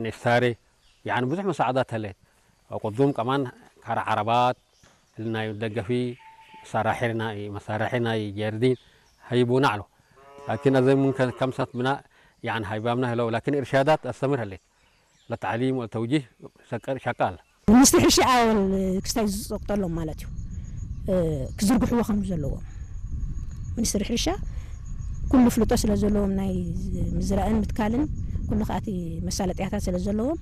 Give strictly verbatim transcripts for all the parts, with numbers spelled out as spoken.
ንሳሬ፣ ያኒ ብዙሕ መሳዕዳት ህሌት። ወቅዱም ከማን ካረ ዐረባት፣ እሊ ናይ ደገፊ መሳራሒ ናይ፣ መሳራሒ ናይ ጀርዲን ሀይቡና ዐለው። ላኪን አዜ ምን ከ-፣ ከምሰት ብና፣ ያኒ ሀይባምና ህለው፣ ላኪን እርሻዳት አስተምር ህሌት። ለተዕሊም ወለተውጂህ ሰቀር ሸቃል። ሚኒስትሪ ሕርሻ አወል ክስታይ ዝጸቅጠሎም ማለት እዩ። እ፣ ክዝርግሕዎ ከም ዘለዎም። ሚኒስትሪ ሕርሻ ኩሉ ፍልጦ ስለ ዘለዎም ናይ ምዝራእን ምትካልን ኩሉ ከኣቲ መሳለጥያታት ስለ ዘለዎም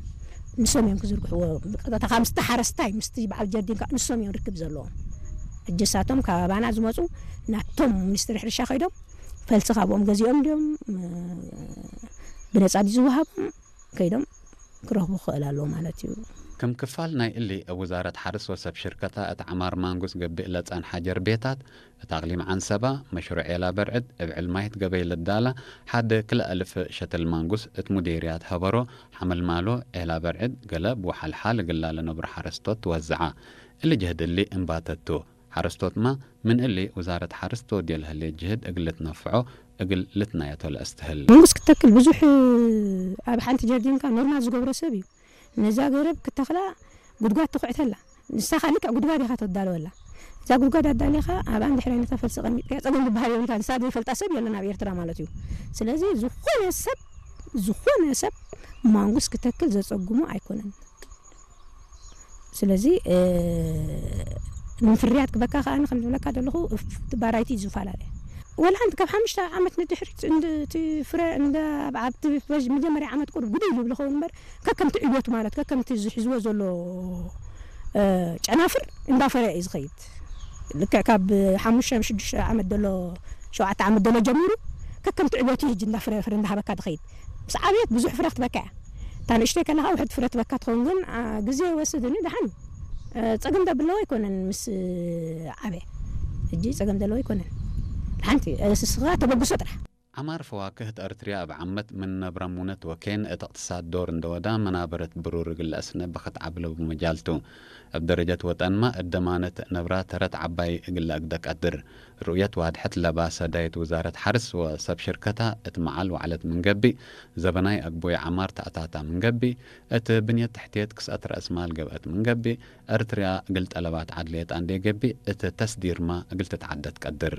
ንሶም እዮም ክዝርግሕዎ። ብቀጥታ ካብ ምስቲ ሓረስታይ ምስቲ በዓል ጀርዲን ከኣ ንሶም እዮም ርክብ ዘለዎም። እጀሳቶም ካብ ኣባና ዝመጹ ናቶም ሚኒስትሪ ሕርሻ ከይዶም ፈልሲ ካብኦም ገዚኦም ድዮም፣ እ፣ ብነጻ ድዩ ዝወሃቦም? ከይዶም ክረኽቡ ክኽእል ኣለዎ ማለት እዩ። ክም ክፋል ናይ እሊ፣ እብ ውዛረት ሐርስ ወሰብ ሽርከታ እት ዐማር ማንጉስ ገብእ ለጸንሐ ጀርቤታት፣ እት አቅሊም ዐንሰባ፣ መሽሩዕ ኤላ በርዕድ እብ ዕልማይት ገበይ ልዳላ ሐድ ክልኤ እልፍ ሸትል ማንጉስ እት ሙዴርያት ሀበሮ፣ ሐመልማሎ፣ ኤላ በርዕድ፣ ገለብ ወሐልሓል እግላ ለነብሮ ሐረስቶት ትወዝዐ። እሊ ጅህድ እሊ እንባተቱ። ሐረስቶትመ ምን እሊ ውዛረት ሐርስ ትወድዮ ለህሌት ጅህድ እግል ልትነፍዖ እግል ልትናየቶ ለአስትህል። መንጉስ ክትተክል ብዙሕ ኣብ ሓንቲ ጀርዲንካ ኖርማል ዝገብሮ ሰብ እዩ። ነዛ ገረብ ክተክላ ጉድጓድ ትኹዕተላ። ንሳኻ ልክዕ ጉድጓድ ኢኻ ተዳለወላ። እዛ ጉድጓድ ኣዳሊኻ ኣብ ኣንድ ሕራይ ነታ ፈልሲ ቀሚጥካያ ጸገም ዝበሃል የብልካ። ንሳ ዘይፈልጣ ሰብ የለን ኣብ ኤርትራ ማለት እዩ። ስለዚ ዝኾነ ሰብ፣ ዝኾነ ሰብ ማንጉስ ክተክል ዘጸግሞ ኣይኮነን። ስለዚ፣ እ፣ ምን ፍርያት ክበካ ከኣ፣ ኣነ ከም ዝብለካ ዘለኹ፣ እፍ-፣ ባራይቲ እዩ ዝፈላለ። ወላ ሓንቲ ካብ ሓሙሽተ ዓመት ንድሕሪት እንድ-፣ እቲ ፍረ እንደ ኣብ፣ ኣብቲ ፈጅ መጀመርያ ዓመት ቁሩብ ግዱይ ይብል ይኸውን እምበር፣ ከከምቲ ዕብዮቱ ማለት፣ ከከምቲ ዝሕዝዎ ዘሎ፣ እ፣ ጨናፍር እንዳፈረየ እዩ ዝኸይድ። ልክዕ ካብ ሓሙሽተ፣ ሽዱሽተ ዓመት ዘሎ፣ ሸውዓተ ዓመት ዘሎ ጀሚሩ፣ ከከምቲ ዕብዮቱ ህጅ እንዳፍረ፣ ፍረ እንዳሃበካ ትኸይድ። ምስ ዓብየት ብዙሕ ፍረ ክትበካ እያ። እታ ንእሽተይ ከለኻ ውሕድ ፍረ ትበካ ትኸውን፣ ግን፣ አ፣ ግዜ ይወስድ፣ እኒ ደሓን እዩ። እ፣ ጸገም ዶ ብለዎ ኣይኮነን፣ ምስ ዓበ። ሕጂ ጸገም ዘለዎ ኣይኮነን። ሓንቲ፣ እ፣ እስኻ ተበግሶ ጥራሕ። ዐማር ፈዋክህ እት ኤርትርያ እብ ዓመት ምን ነብረ ሙነት ወኬን እት እቅትሳድ ዶር እንደ ወዳ፣ መናበረት ብሩር እግል ለአስነ በክት ዐቢ ለቡ መጃል ቱ። እብ ደረጀት ወጠንመ እት ደማነት ነብራ ተረት ዐባይ እግል ለአግደ ቀድር። ሩእየት ዋድሐት ለባ ሰዳይት ውዛረት ሐርስ ወሰብ ሽርከታ እት መዓል ወዐለት ምን ገብእ፣ ዘበናይ አግቦይ ዐማር ተአታታ ምን ገብእ፣ እት ብንየት ተሕትየት ክስአት ረአስ ማል ገብአት ምን ገብእ፣ ኤርትርያ እግል ጠለባት ዐድልየት አንዴ ገብእ፣ እት ተስዲርመ እግል ትትዓደ ትቀድር።